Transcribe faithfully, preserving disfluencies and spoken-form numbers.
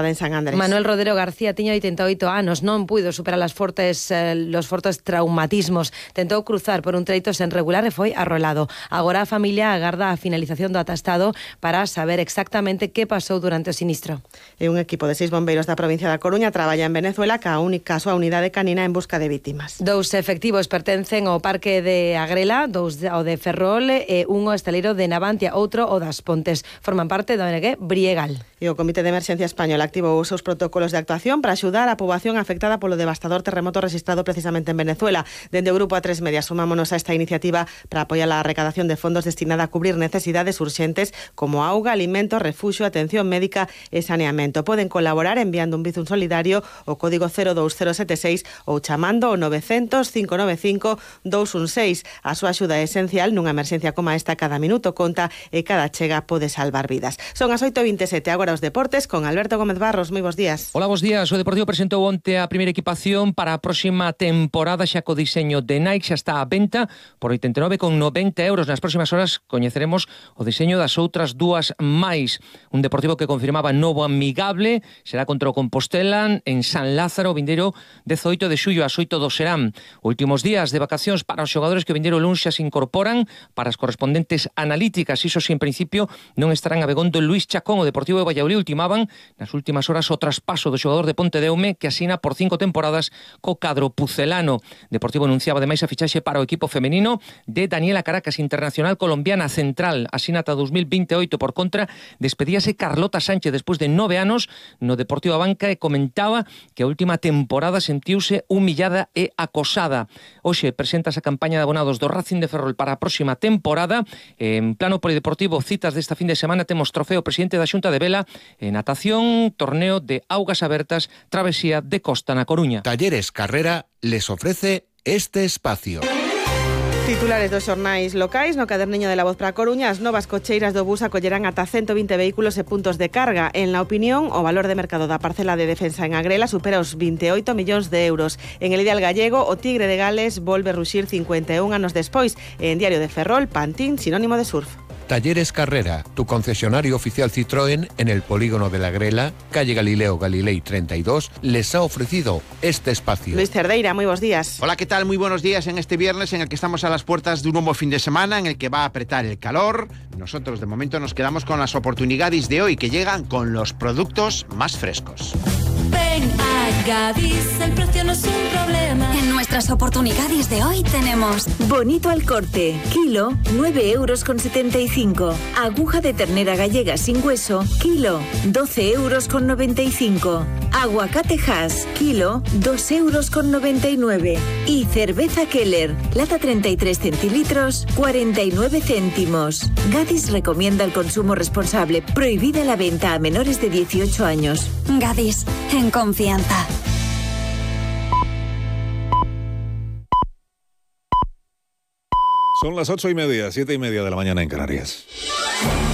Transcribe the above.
en San Andrés. Manuel Rodero García tiña oitenta e oito anos, non puido superar as fortes, eh, los fortes traumatismos. Tentou cruzar por un treito sen regular e foi arrolado. Agora a familia agarda a finalización do atestado para saber exactamente que pasou durante o sinistro. E un equipo de seis bombeiros da provincia da Coruña traballa en Venezuela ca única súa unidade canina en busca de vítimas. Dous efectivos pertencen ao parque de Agrela, dous ao de Ferrol e un ao estaleiro de Navantia, outro ao das Pontes. Forman parte da O N G Briegal. E o Comité de Emerxencia Español activou os seus protocolos de actuación para axudar a poboación afectada polo devastador terremoto registrado precisamente en Venezuela. Dende o Grupo A tres Media sumámonos a esta iniciativa para apoiar a recadación de fondos destinada a cubrir necesidades urxentes como auga, alimento, refuxio, atención médica e saneamento. Poden colaborar enviando un bizum solidario o código cero dous cero sete seis ou chamando o novecientos, cinco nove cinco, dous un seis. A súa axuda é esencial nunha emerxencia como esta. Cada minuto conta e cada chega pode salvar vidas. Son as oito e vinte e sete, agora os deportes con Alberto Gómez Barros. Moi bons días. Hola, bons días. O Deportivo presentou onte a primeira equipación para a próxima temporada xa co diseño de Nike, xa está á venta por oitenta e nove con noventa euros. Nas próximas horas coñeceremos o diseño das outras dúas máis. Un Deportivo que confirmaba novo amigable, será contra o Compostela en San Lázaro, o vindeiro dezoito de xullo ás oito do serán. Últimos días de vacacións para os xogadores que o vindeiro luns xa se incorporan para as correspondentes analíticas. Iso si en principio non estarán a Begondo Luís Chacón. O Deportivo de Valladolid ultimaban nas últimas horas o traspaso do xogador de Pontedeume que asina por cinco temporadas co cadro pucelano. Deportivo anunciaba ademais a fichaxe para o equipo femenino de Daniela Caracas, internacional colombiana central, asina ata dos mil vinte e oito. Por contra, despedíase Carlota Sánchez despois de nove anos no Deportivo a Banca e comentaba que a última temporada sentiuse humillada e acosada. Hoxe presentas a campaña de abonados do Racing de Ferrol para a próxima temporada. En plano polideportivo, citas desta fin de semana, temos trofeo presidente da Xunta de Vela e natación, torneo de augas abertas, travesía de costa na Coruña. Talleres Carrera les ofrece este espacio. Titulares dos xornais locais. No caderniño de La Voz para a Coruña, as novas cocheiras do bus acollerán ata ciento vinte vehículos e puntos de carga. En La Opinión, o valor de mercado da parcela de defensa en Agrela supera os vinte e oito millóns de euros. En El Ideal Gallego, o Tigre de Gales volve ruxir cincuenta e un anos despois. E en Diario de Ferrol, Pantín, sinónimo de surf. Talleres Carrera, tu concesionario oficial Citroën en el polígono de la Grela, calle Galileo Galilei treinta y dos, les ha ofrecido este espacio. Luis Cerdeira, muy buenos días. Hola, ¿qué tal? Muy buenos días en este viernes en el que estamos a las puertas de un nuevo fin de semana en el que va a apretar el calor. Nosotros de momento nos quedamos con las oportunidades de hoy que llegan con los productos más frescos. Ven a Gadis, el precio no es un problema. En nuestras oportunidades de hoy tenemos bonito al corte, kilo, nueve euros con setenta y cinco. Aguja de ternera gallega sin hueso, kilo, doce euros con noventa y cinco. Aguacate Hass, kilo, dos euros con noventa y nueve. Y cerveza Keller, lata treinta y tres centilitros, cuarenta y nueve céntimos. Gadis recomienda el consumo responsable. Prohibida la venta a menores de dieciocho años. Gadis, en confianza. Son las ocho y media, siete y media de la mañana en Canarias.